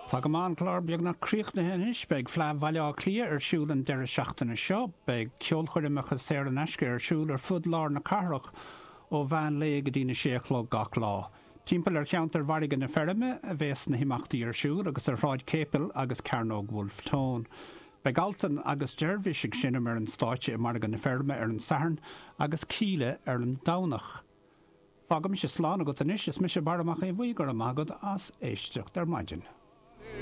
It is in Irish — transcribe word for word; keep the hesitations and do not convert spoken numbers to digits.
Tá go maith an clár beagnach críochnaithe anois beidh Fleadh Bhaile Átha Cliath ar siúl an deireadh seachtaine seo, beidh ceolchoirmeacha saor in aisce ar siúl ar fud lár na cathrach ó mheán lae go dtí a sé a chlog gach lá. Timpeall ar cheantar Mhargadh na Feirme a bheas na himeachtaí ar siúl agus ar Shráid Capel agus Cearnóg Wolfe Tone. Beidh Altan agus Dervish ag seinm ar an stáitse i Margadh na Feirme ar an Satharn agus Kíla ar an Domhnach. Fágaimise slán agat anois is mise Barra Mac Aodha Bhuí go raibh maith agat as éisteacht ar maidin.